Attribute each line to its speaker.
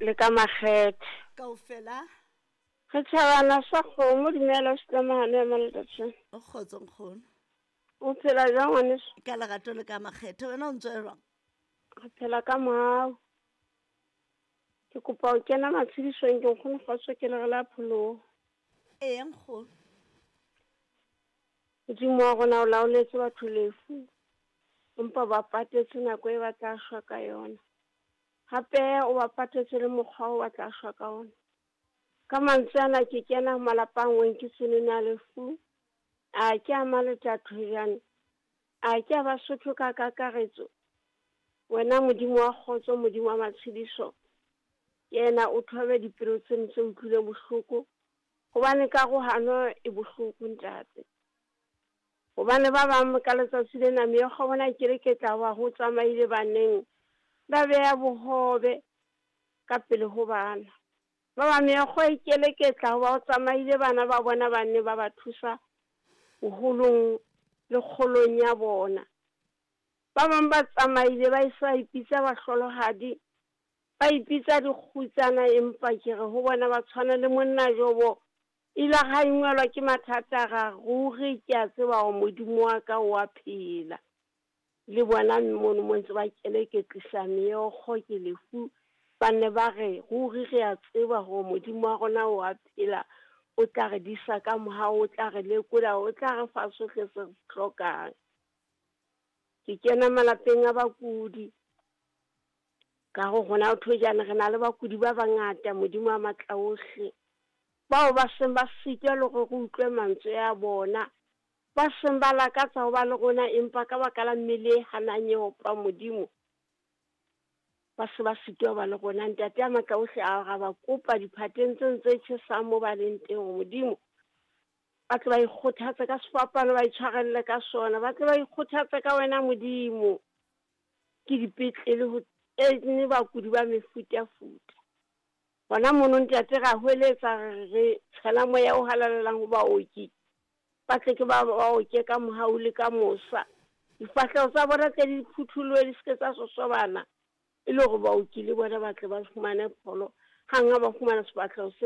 Speaker 1: Le ka makgethe.
Speaker 2: Kaofela.
Speaker 1: Re tjhabana sa kgomo dumela setlamahane ya maletatsheng.
Speaker 2: O kgotso nkgono.
Speaker 1: O phela jwang ngwaneso?
Speaker 2: Ka lerato le ka makgethe wena o ntse jwang?
Speaker 1: Re phela ka mohau. Ke kopa ho kena matshedisong ke nkgono kgotso ke lere la pholoho.
Speaker 2: Ee nkgono.
Speaker 1: Modimo wa rona o laoletse batho lefu empa ba patetse nako e ba tla shwa ka yona. Hape o ba patetse le mokgwa o ba tla shwa ka ona. Ka mantswe ana ke kena malapa a ngweng ke tsenene a lefu. A ke a Maletathojane, a ke a Basotho ka kakaretso. Wena Modimo wa kgotso, Modimo wa matshediso, kena o thobe dipelo tseno tse utlwileng bohloko, hobane karohano e bohloko ntate. Hobane ba bang ka letsatsi lena meokgo bona ke re ke tla wa ho tsamaile baneng ba beha bohobe ka pele ho bana. Ba bang meokgo e keleketla hoba ho tsamaile bana ba bona ba nne ba ba thusa boholong le kgolong ya bona. Ba bang ba tsamaile ba esa ipitsa bahlolohadi, ba ipitsa dikgutsana, empa ke re ho bona ba tshwana le monna Jobo. Ile ha ingwelwa ke mathata ra ruri ke a tseba hore Modimo wa ka o a phela. Le bona mono mo ntse ba keleketlisa meokgo ke lefu, ba nne ba re ruri re a tseba hore Modimo wa rona o a phela, o tla re disa ka mohau, o tla re lekola, o tla re fa sohle se re se hlokang. Ke kena malapeng a bakudi ka ho rona ho thojana re na le bakudi ba bangata Modimo wa matla ohle, bao ba seng ba sitwa le hore re utlwe mantswe a bona, ba seng ba lakatsa ho ba le rona empa ka baka la mmele e hanang e opang Modimo ba se ba sitwa ho ba le rona. Ntate a matla ohle a ra ba kopa diphateng tseno tse tjhesang mo ba leng teng hore Modimo ba tle ba ikgothatse ka sefapano, ba itshwarelle ka sona, ba tle ba ikgothatse ka wena Modimo. Ke dipetlele ho ene bakudi ba mefutafuta. Hona mono ntate ra hweletsa re tshela moya o halalelang ho baoki, ba tle ke ba oke ka mohau le ka mosa. Difahleho tsa bona tle di phutholohe di se ke tsa sosobana, e le hore baoki le bona ba tle ba fumane pholo hang ha ba fumana sefahleho se.